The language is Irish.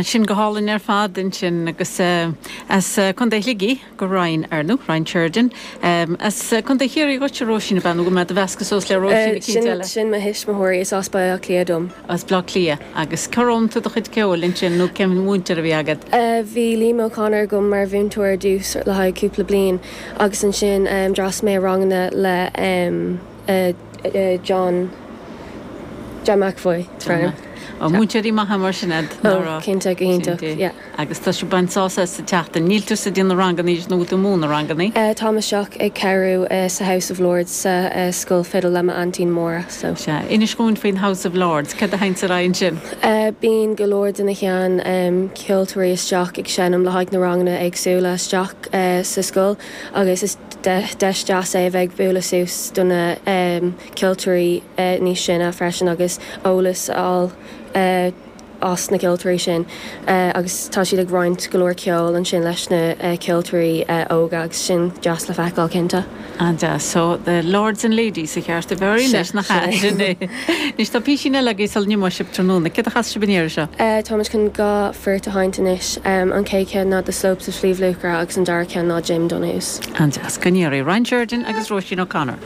Sin go hálainn ar fad ansin agus as Contae Shligigh do Ryan, ar ndóigh, Ryan Sheridan. As Contae Chiarraí dhuitse, Róisín, ab ea? Nó go mbeidh do mheascadh suas le Róisín eicínt eile? Sin mo thuismitheoirí, is as Baile Átha Cliath dom. As Baile Átha Cliath. Agus cár fhoghlaim tú do chuid ceoil ansin nó cén mhúinteoir a bhí agat? Bhí Liam O'Connor agam mar mhúinteoir ar dtús le haghaidh cúpla bliain agus ansin d'fhreastail mé ar ranganna le John John McEvoy. Ó, múinteoirí maithe mar sin iad, nach raibh? Ó, cinnte, go hiontach, yeah. Agus tá sibh ag baint sásamh as an tseachtain. Níl tusa ag déanamh rangannaí anois nó bhfuil tú ag múineadh rangannaí? Táim isteach ag cabhrú sa House of Lords sa scoil fidil le m'aintín Máire, so. Sea. Inis dhúinn faoin House of Lords. Céard a théanns ar aghaidh ansin? Bíonn go leor de na shean ceoltóirí isteach ag seinm le haghaidh na ranganna éagsúla isteach sa scoil agus is deis deas é a bheith ag bualadh suas do na ceoltóirí níos sine freisin agus eolas a fháil as na ceoltóirí sin agus tá siad ag roinnt go leor ceoil ansin leis na ceoltóirí óga agus sin deas le feiceáil cinnte. An-deas. So, the Lords and Ladies sa cheart a bheith orainn leis, nach ea? Sin é. Anois tá písín eile agaibh sula n-imeoidh sibh tráthnóna. Céard a chasfaidh sibh an iarraidh seo? Táimid chun 2 phort a sheinnt anois. An chéad cheann ná The Slopes of Sliabh Luachra agus an dara ceann ná Jim Donohue's. An-deas. Go n-iarraidh. Ryan Sheridan agus Róisín O'Connor.